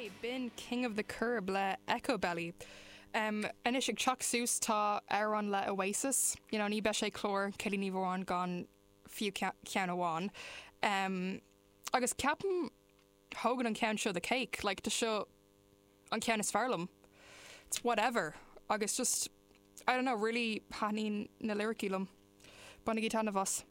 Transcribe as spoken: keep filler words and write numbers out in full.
Ok, b'in King of the Curb le Echobelly. Um, anois ag teacht suas tá amhrán le Oasis, you know, ní bheadh sé clár Céilí Ní Mhóráin gan fiú ceann amháin. Um, agus ceapaim thógann an ceann seo the cake, like, tá seo an ceann is fearr liom. It's whatever. Agus just, I don't know, really thaitníonn na lyricí liom. Bainigí taitneamh as.